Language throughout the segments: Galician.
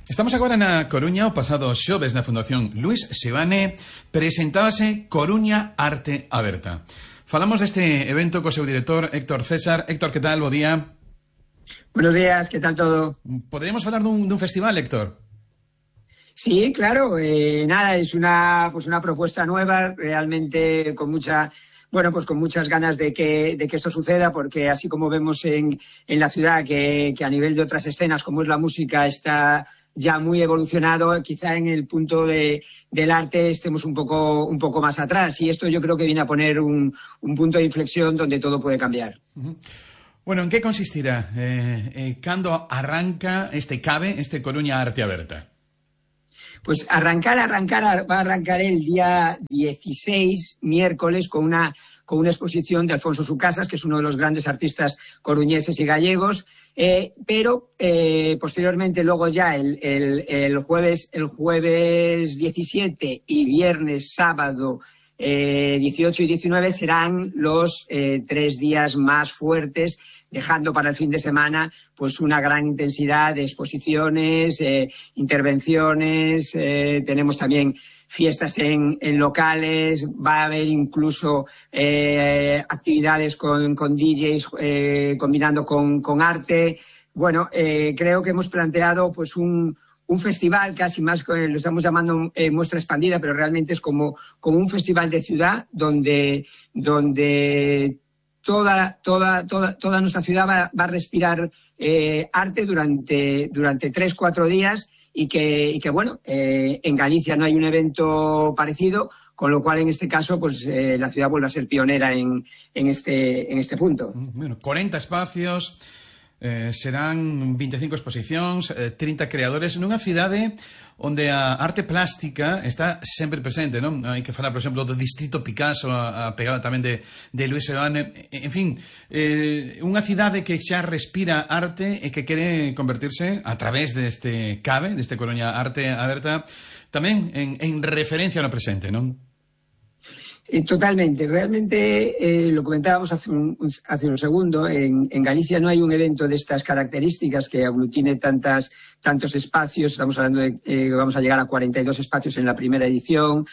Estamos agora na Coruña. O pasado xoves na Fundación Luís Seoane presentábase Coruña Arte Aberta. Falamos deste evento co seu director Héctor César. Héctor, que tal? Bo día. Buenos días, ¿qué tal todo? Poderíamos falar dun festival, Héctor? Sí, claro. Nada, es una propuesta nueva, realmente con mucha... Bueno, pues con muchas ganas de que esto suceda, porque así como vemos en la ciudad que a nivel de otras escenas, como es la música, está ya muy evolucionado, quizá en el punto del arte estemos un poco más atrás. Y esto yo creo que viene a poner un punto de inflexión donde todo puede cambiar. Bueno, ¿en qué consistirá? ¿Cando arranca este Coruña Arte Aberta? Pues va a arrancar el día 16, miércoles, con una exposición de Alfonso Sucasas, que es uno de los grandes artistas coruñeses y gallegos, pero posteriormente luego ya el jueves 17 y viernes, sábado 18 y 19 serán los 3 días más fuertes, dejando para el fin de semana pues una gran intensidad de exposiciones, intervenciones, tenemos también fiestas en locales, va a haber incluso actividades con DJs combinando con arte. Bueno, creo que hemos planteado pues un festival casi más, lo estamos llamando muestra expandida, pero realmente es como un festival de ciudad donde toda nuestra ciudad va a respirar arte durante 3-4 días y que bueno, en Galicia no hay un evento parecido, con lo cual en este caso pues la ciudad vuelve a ser pionera en este punto. Bueno, 40 espacios, serán 25 exposicións, 30 creadores nunha cidade onde a arte plástica está sempre presente, non? Hai que falar, por exemplo, do Distrito Picasso, a pegada tamén de Luís Seoane. En fin, unha cidade que xa respira arte e que quere convertirse a través deste deste Coruña Arte Aberta, tamén en referencia no presente, non? Totalmente. Realmente, lo comentábamos hace un segundo, en Galicia no hay un evento de estas características que aglutine tantos espacios. Estamos hablando de que vamos a llegar a 42 espacios en la primera edición,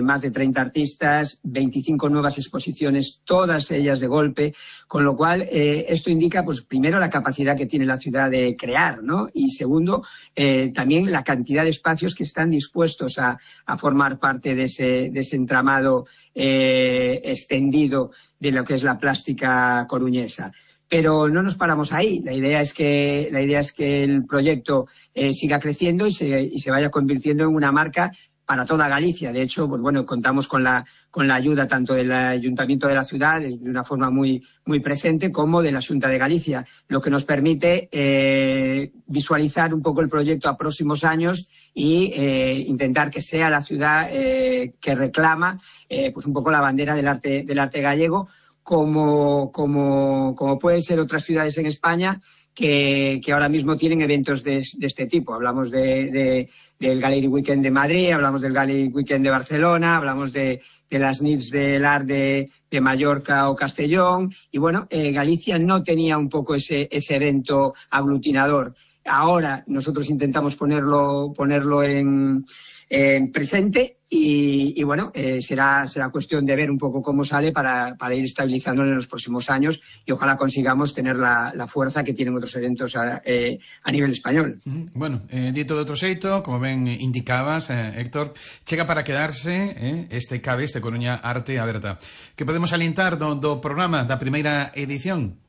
más de 30 artistas, 25 nuevas exposiciones, todas ellas de golpe, con lo cual esto indica, pues primero, la capacidad que tiene la ciudad de crear, ¿no? Y segundo, también la cantidad de espacios que están dispuestos a formar parte de ese entramado extendido de lo que es la plástica coruñesa. Pero no nos paramos ahí. La idea es que el proyecto siga creciendo y se vaya convirtiendo en una marca para toda Galicia. De hecho, pues bueno, contamos con la ayuda tanto del Ayuntamiento de la ciudad, de una forma muy, muy presente, como de la Xunta de Galicia, lo que nos permite visualizar un poco el proyecto a próximos años y intentar que sea la ciudad que reclama pues un poco la bandera del arte gallego, como pueden ser otras ciudades en España que ahora mismo tienen eventos de este tipo. Hablamos del Gallery Weekend de Madrid, hablamos del Gallery Weekend de Barcelona, hablamos de las NITs del Art de Mallorca o Castellón. Y bueno, Galicia no tenía un poco ese evento aglutinador. Ahora nosotros intentamos ponerlo en presente y bueno, será cuestión de ver un poco cómo sale para ir estabilizándolo en los próximos años y ojalá consigamos tener la fuerza que tienen otros eventos a nivel español. Bueno, dito de outro xeito, como ben indicabas, Héctor, chega para quedarse este Coruña Arte Aberta. Que podemos alientar do programa da primeira edición?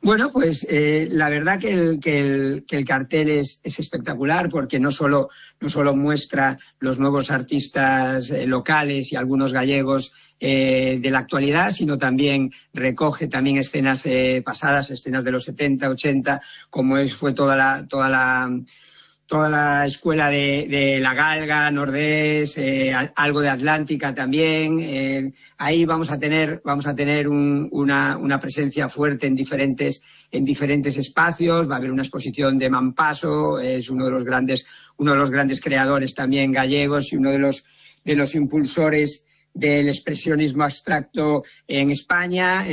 Bueno, pues la verdad que el cartel es espectacular, porque no solo muestra los nuevos artistas locales y algunos gallegos de la actualidad, sino también recoge también escenas pasadas, escenas de los 70, 80, como fue toda la escuela de La Galga, Nordés, algo de Atlántica también. Ahí vamos a tener una presencia fuerte en diferentes espacios. Va a haber una exposición de Mampaso, es uno de los grandes creadores también gallegos y uno de los impulsores del expresionismo abstracto en España.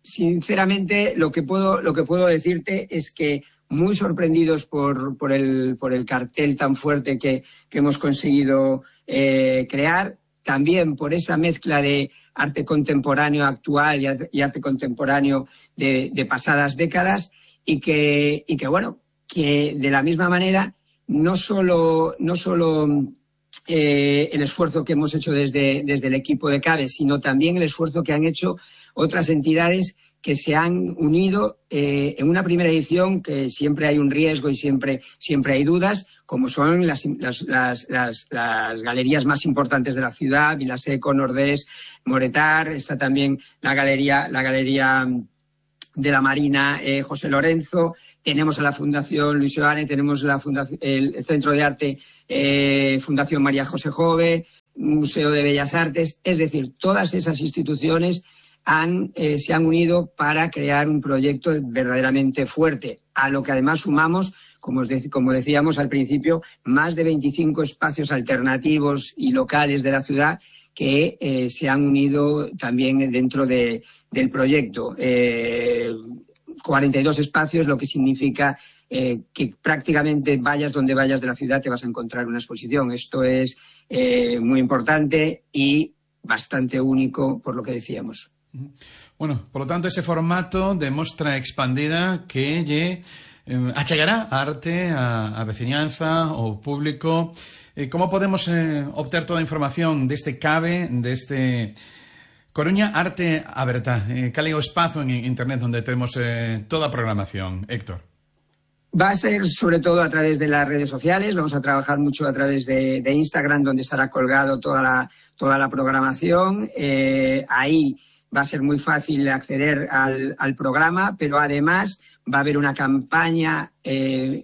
Sinceramente, lo que puedo decirte es que muy sorprendidos por el cartel tan fuerte que hemos conseguido crear, también por esa mezcla de arte contemporáneo actual y arte contemporáneo de pasadas décadas, y que bueno, que de la misma manera no solo el esfuerzo que hemos hecho desde el equipo de CABE, sino también el esfuerzo que han hecho otras entidades que se han unido en una primera edición, que siempre hay un riesgo y siempre hay dudas, como son las galerías más importantes de la ciudad: Vilaseco, Nordés, Moretar. Está también la galería de la Marina José Lorenzo. Tenemos a la Fundación Luis Joane, tenemos el Centro de Arte Fundación María José Jove, Museo de Bellas Artes. Es decir, todas esas instituciones se han unido para crear un proyecto verdaderamente fuerte, a lo que además sumamos, como decíamos al principio, más de 25 espacios alternativos y locales de la ciudad que se han unido también dentro del proyecto. 42 espacios, lo que significa que prácticamente vayas donde vayas de la ciudad te vas a encontrar una exposición. Esto es muy importante y bastante único, por lo que decíamos. Bueno, por lo tanto, ese formato de mostra expandida que achegará arte a veciñanza, ao público. Como podemos obter toda a información deste CABE, deste Coruña Arte Aberta? Cal é o espazo en internet onde temos toda a programación, Héctor? Va a ser sobre todo a través de las redes sociales. Vamos a trabajar mucho a través de Instagram, donde estará colgado toda la programación. Ahí va a ser muy fácil acceder al programa, pero además va a haber una campaña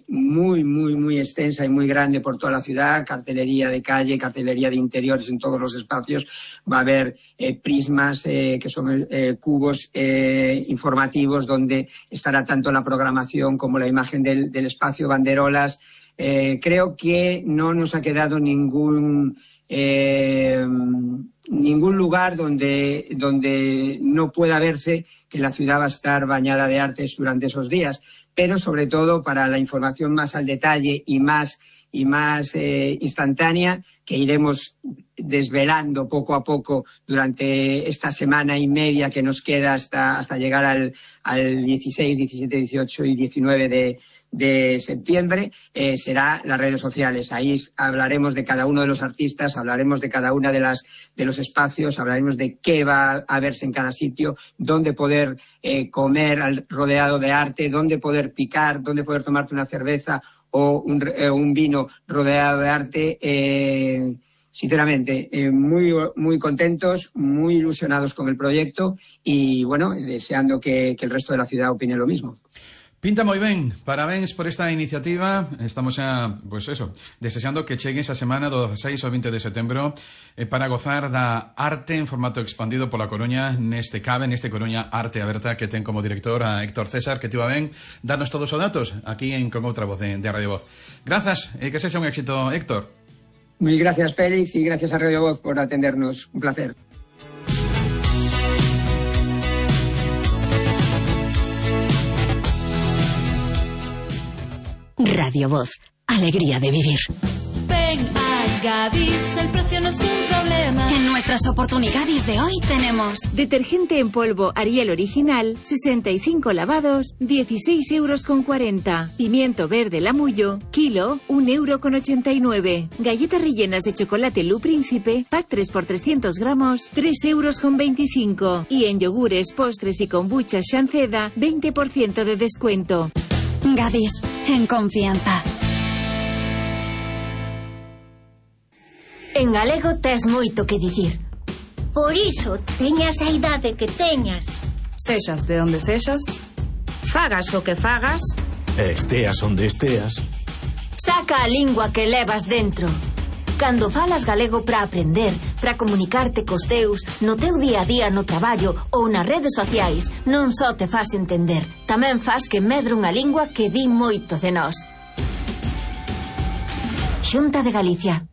muy extensa y muy grande por toda la ciudad: cartelería de calle, cartelería de interiores en todos los espacios. Va a haber prismas, que son cubos informativos, donde estará tanto la programación como la imagen del espacio, banderolas. Creo que no nos ha quedado ningún lugar donde no pueda verse que la ciudad va a estar bañada de artes durante esos días, pero sobre todo para la información más al detalle y más instantánea, que iremos desvelando poco a poco durante esta semana y media que nos queda hasta llegar al 16, 17, 18 y 19 de septiembre, será las redes sociales. Ahí hablaremos de cada uno de los artistas, hablaremos de cada una de los espacios, hablaremos de qué va a verse en cada sitio, dónde poder comer rodeado de arte, dónde poder picar, dónde poder tomarte una cerveza o un vino rodeado de arte. Sinceramente, muy contentos, muy ilusionados con el proyecto y, bueno, deseando que el resto de la ciudad opine lo mismo. Pinta moi ben, parabéns por esta iniciativa. Estamos xa, desexando que chegue esa semana do 6 ao 20 de setembro para gozar da arte en formato expandido pola Coruña neste CABE, neste Coruña Arte Aberta, que ten como director a Héctor César, que te va ben darnos todos os datos aquí con outra voz de Radio Voz. Grazas, e que sexa un éxito, Héctor. Mil gracias, Félix, y gracias a Radio Voz por atendernos. Un placer. Radio Voz, alegría de vivir. Ven a Gadis, el precio no es un problema. En nuestras oportunidades de hoy tenemos detergente en polvo Ariel original, 65 lavados, 16,40 €. Pimiento verde Lamullo, kilo, 1,89 €. Galletas rellenas de chocolate Lu Príncipe, pack 3 por 300 gramos, 3,25 €. Y en yogures, postres y kombucha Shanceda, 20% de descuento. Gadis, en confianza. En galego tes moito que dicir. Por iso, teñas a idade que teñas. Sexas de onde sexas, Fagas o que fagas, esteas onde esteas, saca a lingua que levas dentro. Cando falas galego para aprender, para comunicarte cos teus, no teu día a día no traballo ou nas redes sociais, non só te fas entender, tamén fas que medre unha lingua que di moito de nós. Xunta de Galicia.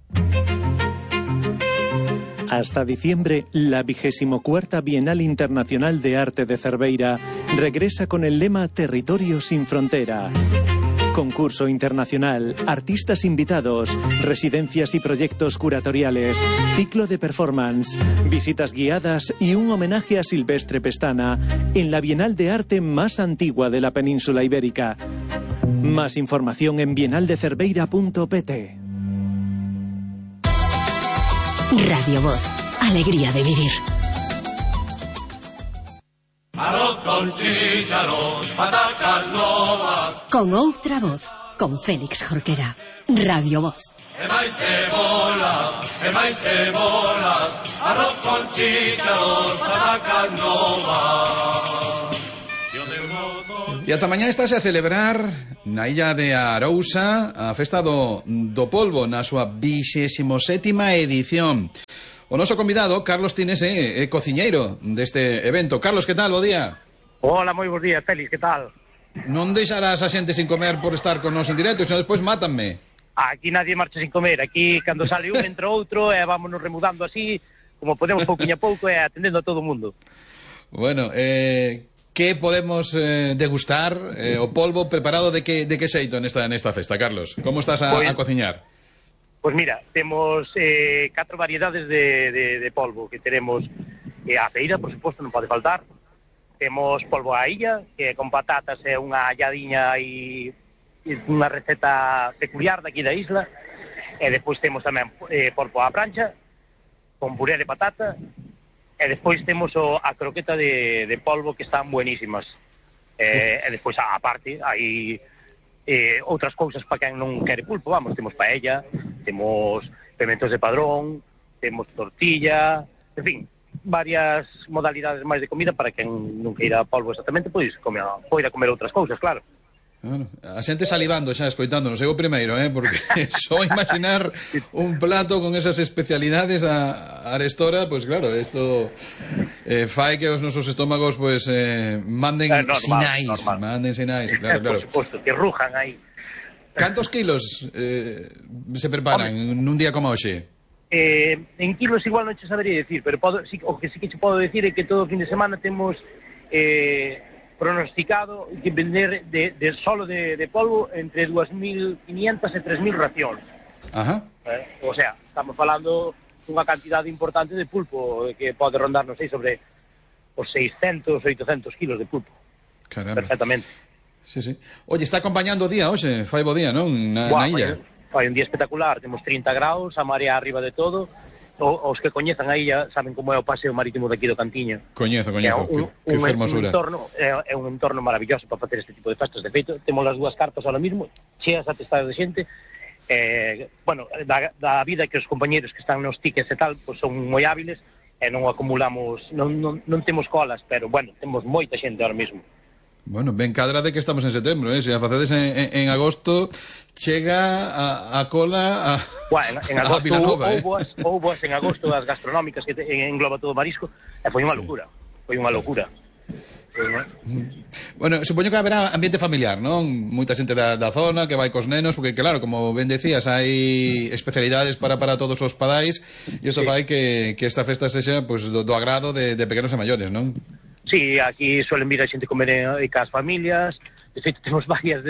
Hasta diciembre, la 24ª Bienal Internacional de Arte de Cerveira regresa con el lema Territorio sin Frontera. Concurso internacional, artistas invitados, residencias y proyectos curatoriales, ciclo de performance, visitas guiadas y un homenaje a Silvestre Pestana en la Bienal de Arte más antigua de la península ibérica. Más información en bienaldecerveira.pt. Radio Voz, alegría de vivir. Arroz con chícharos, patacas novas. Con outra voz, con Félix Jorquera. Radio Voz. E máis cebolas, arroz con chícharos, patacas novas. E ata mañá estáse a celebrar na illa de Arousa a festa do polvo na súa 27ª edición. O noso convidado, Carlos Tines, é cociñeiro deste evento. Carlos, que tal? Bo día. Hola, moi bons días, Félix, que tal? Non deixarás a xente sin comer por estar con nos en directo, senón despois mátanme. Aquí nadie marcha sin comer. Aquí, cando sale un, entra outro, e vámonos remudando así, como podemos pouquinho a pouco, e atendendo a todo o mundo. Bueno, que podemos degustar o polvo preparado de que xeito nesta festa, Carlos? Como estás a cociñar? Pois mira, temos 4 variedades de polvo que teremos a feira, por suposto, non pode faltar. Temos polvo a illa, que con patatas é unha halladiña e unha receta peculiar daqui da isla. E despois temos tamén polvo á prancha, con puré de patata. E despois temos a croqueta de polvo, que están buenísimas. E despois, a parte, hai outras cousas para quen non quere pulpo, vamos, temos paella, temos pimentos de padrón, temos tortilla, en fin, varias modalidades máis de comida para quen non queira polvo exactamente, pois poida comer outras cousas, claro. Bueno, a xente salivando xa, escoitándonos, eu o primeiro, porque só imaginar un plato con esas especialidades a arestora, pois claro, isto fai que os nosos estómagos pois manden sinais, claro. Por suposto, que rujan aí. Cantos kilos se preparan nun día como hoxe? En kilos igual non che sabería decir, pero o que sí que che podo decir é que todo o fin de semana temos pronosticado que vender solo de polvo entre 2.500 e 3.000 racións. Ajá. O sea, estamos falando dunha cantidade importante de pulpo que pode rondar, non sei, sobre os 600, 800 kilos de pulpo. Caramba. Perfectamente. Sí. Oye, está acompañando o día hoxe, fai bo día, non? Na illa. Fai un día espectacular, temos 30 graus, a marea arriba de todo. Os que coñezan a illa saben como é o paseo marítimo daqui do Cantiño. Coñezo, que fermosura. É un entorno maravilloso para facer este tipo de festas. De feito, temos as dúas carpas ahora mismo, cheas atestadas de xente. Bueno, da vida que os compañeros que están nos tickets e tal, pues son moi hábiles e non acumulamos, non temos colas, pero bueno, temos moita xente ahora mismo. Bueno, ben cadra de que estamos en setembro, se a facedes en agosto chega a cola a bueno, en agosto houve boas en agosto as gastronómicas que engloba todo o marisco e foi unha locura. Bueno, supoño que haberá ambiente familiar, non? Moita xente da zona que vai cos nenos, porque claro, como ben decías, hai especialidades para todos os padais e isto fai que esta festa sexa pues, do agrado de pequenos e maiores, non? Sí, aquí suelen vir a xente comer cas familias. De feito, temos varias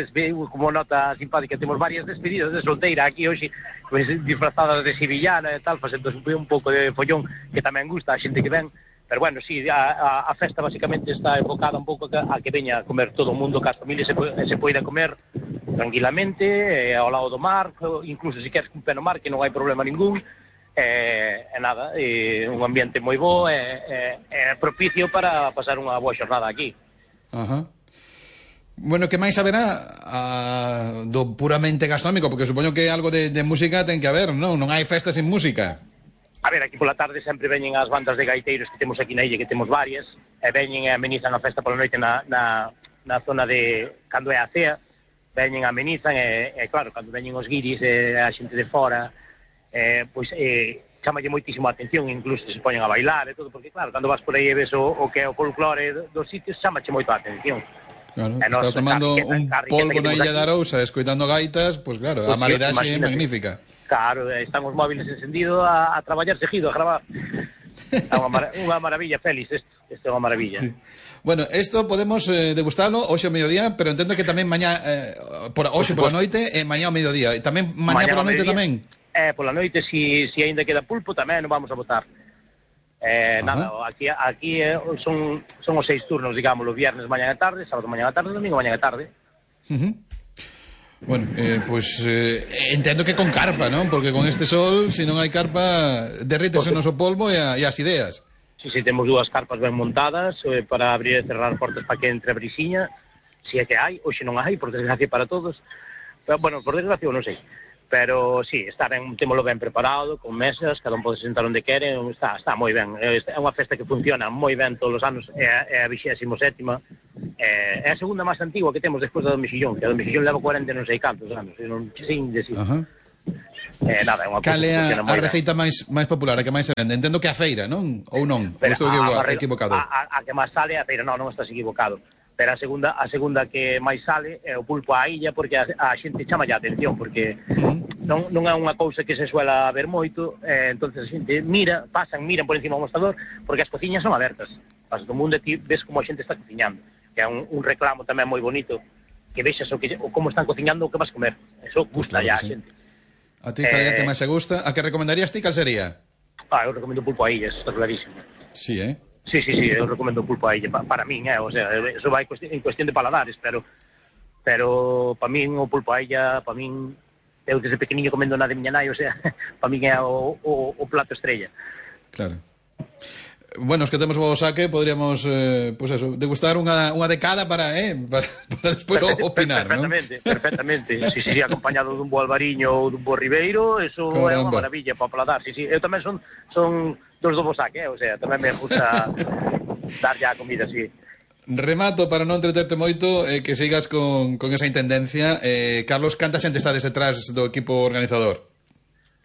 como nota simpática, temos varias despedidas de solteira aquí hoxe, pues, disfrazadas de sevillana e tal, facendo un pouco de follón que tamén gusta a xente que ven. Pero bueno, sí, a festa basicamente está enfocada un pouco a que veña a comer todo o mundo cas familias se poida comer tranquilamente, ao lado do mar, incluso se queres un pé no mar, que non hai problema ningún. Nada, un ambiente moi bo e propicio para pasar unha boa xornada aquí. Ajá. Bueno, que máis haberá do puramente gastronómico? Porque supoño que algo de música ten que haber, non? Non hai festas sin música. A ver, aquí pola tarde sempre veñen as bandas de gaiteiros que temos aquí na illa, que temos varias, e veñen e amenizan a festa pola noite na zona de cando é a cea, veñen e amenizan e claro, cando veñen os guiris e a xente de fora, pois chamalle moitísimo a atención, incluso se poñen a bailar e todo, porque claro, cando vas por aí e ves o que é o folclore dos sitios, chamache moito a atención. Claro, estar tomando un polvo na illa de Arousa, escoitando gaitas, pois claro, a maridaxe é magnífica. Claro, están os móviles encendidos a traballar seguido, a gravar. É unha maravilla, Félix, isto é unha maravilla. Sí. Bueno, isto podemos degustarlo hoxe ao mediodía, pero entendo que tamén mañá, hoxe pola noite e mañá ao mediodía. E tamén mañá pola noite tamén? Pola noite, si aínda queda pulpo, tamén non vamos a botar. Nada, aquí son os 6 turnos, digamos, o viernes mañá e tarde, sábado mañá e tarde, domingo mañá e tarde. Bueno, pues entendo que con carpa, non? Porque con este sol, se non hai carpa, derrítese o noso polvo e as ideas. Sí, temos 2 carpas ben montadas para abrir e cerrar portas para que entre a brisiña, si é que hai, hoxe non hai, por desgracia para todos. Pero, bueno, por desgracia non sei. Pero sí, témolo ben preparado, con mesas, cada un pode sentar onde quere, está moi ben. É unha festa que funciona moi ben todos os anos, é a 27ª, é a segunda máis antigua que temos despois da do Mexillón, que a do Mexillón leva 40 non sei cantos anos, non sei decir. Nada, é unha cal é a receita máis popular, a que máis se vende? Entendo que a feira, non? Ou non? Ou estou equivocado? A que máis sale é a feira, non estás equivocado. Pero a segunda que máis sale é o pulpo á illa, porque a xente chama a atención, porque non é unha cousa que se suela ver moito, entonces a xente miran por encima do mostrador, porque as cociñas son abertas. Vas do mundo e ti ves como a xente está cociñando, que é un reclamo tamén moi bonito, que vexas como están cociñando o que vas comer. Eso gusta ya a xente. A ti cal é a que máis se gusta? A que recomendarías ti, cal sería? Eu recomendo pulpo a illa, está clarísimo. Sí, Sí, eu recomendo o pulpo a illa, para min, o sea, eso vai en cuestión de paladares, pero para min o pulpo a illa, para min, eu desde pequeniño comendo na de miña nai, o sea, para min é o plato estrella. Claro. Bueno, os que temos o saque, podríamos, pues eso, degustar unha decada para despois opinar, non? Perfectamente. Si acompañado dun bo albariño ou dun bo ribeiro, eso é unha maravilla para paladar. Sí, eu tamén son dos do bo saque, o sea, tamén me gusta dar ya a comida, sí. Remato para non entreterte moito, que sigas con esa intendencia. Carlos, canta xente está detrás do equipo organizador?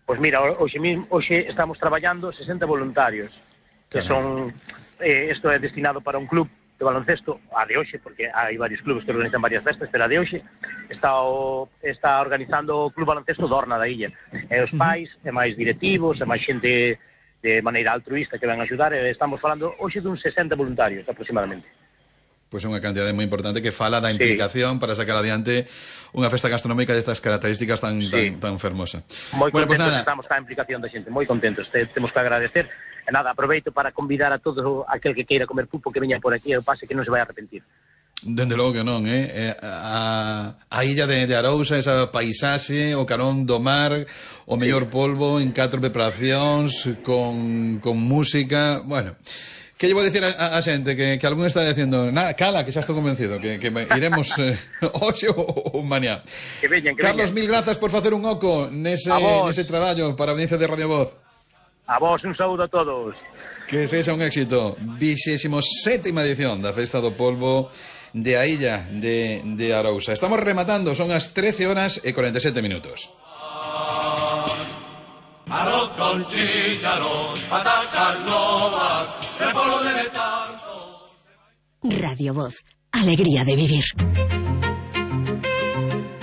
Pois mira, hoxe estamos traballando 60 voluntarios, que son, isto é destinado para un club de baloncesto, a de hoxe, porque hai varios clubes que organizan varias festas, pero a de hoxe está organizando o Club Baloncesto Dorna da illa. E os pais, e máis directivos, e máis xente de maneira altruista que van a axudar, e estamos falando hoxe dun 60 voluntarios aproximadamente. Pois é unha cantidade moi importante que fala da implicación para sacar adiante unha festa gastronómica destas características tan fermosa. Moi contentos estamos ca implicación da xente, moi contentos, temos que agradecer. E nada, aproveito para convidar a todo aquel que queira comer pulpo que veña por aquí e pase que non se vai a arrepentir. Dende logo que non, a illa de Arousa, esa paisaxe, o carón do mar, o mellor polvo en 4 preparacións, con música, bueno. Que lle vou dicir a xente que algún está dicindo, cala, que xa estou convencido, que iremos hoxe ou mañá. Que veñan. Carlos, mil grazas por facer un oco nese traballo para a audiencia de Radio Voz. A vos, un saúdo a todos. Que sexa un éxito. 27ª edición da Festa do Polvo de a illa de Arousa. Estamos rematando, son as 13:47. Arroz con chícharos, patacas novas, repollo de tanto. Radio Voz, alegría de vivir.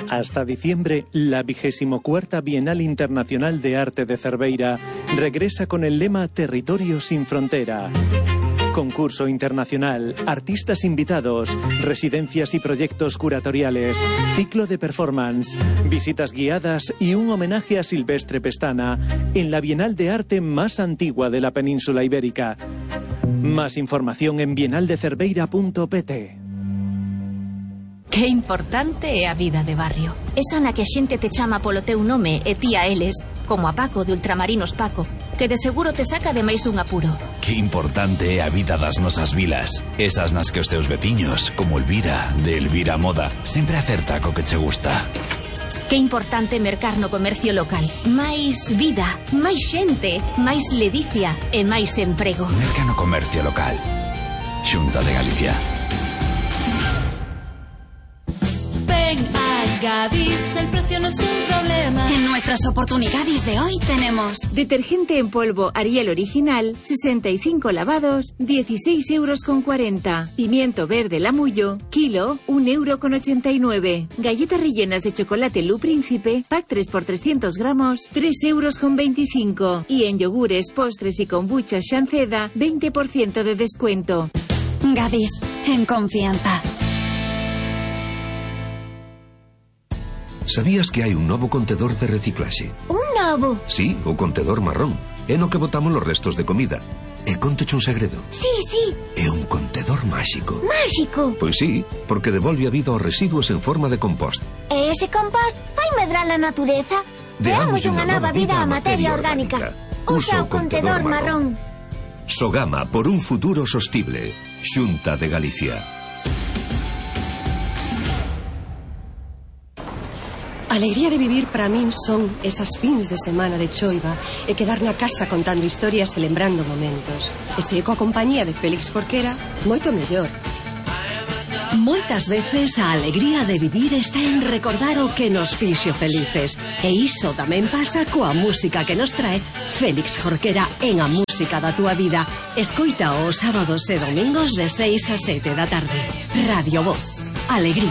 Hasta diciembre, la 24ª Bienal Internacional de Arte de Cerveira regresa con el lema Territorio sin frontera. Concurso internacional, artistas invitados, residencias y proyectos curatoriales, ciclo de performance, visitas guiadas y un homenaje a Silvestre Pestana en la Bienal de Arte más antigua de la península ibérica. Más información en bienaldecerveira.pt. Que importante é a vida de barrio. Esa na que a xente te chama polo teu nome e ti a eles, como a Paco de Ultramarinos Paco, que de seguro te saca de máis dun apuro. Que importante é a vida das nosas vilas. Esas nas que os teus veciños, como Elvira, de Elvira Moda, sempre acerta co que che gusta. Que importante mercar no comercio local. Máis vida, máis xente, máis ledicia e máis emprego. Merca no comercio local. Xunta de Galicia. Ven a Gadis, el precio no es un problema. En nuestras oportunidades de hoy tenemos detergente en polvo Ariel original, 65 lavados, 16,40 €. Pimiento verde Lamullo, kilo, 1,89 €. Galletas rellenas de chocolate Lu Príncipe, pack 3 por 300 gramos, 3,25 €. Y en yogures, postres y kombucha Shanceda, 20% de descuento. Gadis, en confianza. Sabías que hai un novo contedor de reciclaxe? Un novo? Sí, o contedor marrón. É no que botamos os restos de comida. E contoche un segredo. Sí. É un contedor máxico. Máxico? Pois sí, porque devolve a vida aos residuos en forma de compost. E ese compost vai medrar a natureza? Deamos unha nova vida á materia orgánica. Usa o contedor marrón. Sogama por un futuro sostible. Xunta de Galicia. A alegría de vivir para min son esas fins de semana de choiva e quedar na casa contando historias e lembrando momentos. E se coa compañía de Félix Jorquera, moito mellor. Moitas veces a alegría de vivir está en recordar o que nos fixo felices. E iso tamén pasa coa música que nos trae Félix Jorquera en A Música da Túa Vida. Escoita os sábados e domingos de 6 a 7 da tarde. Radio Voz. Alegría.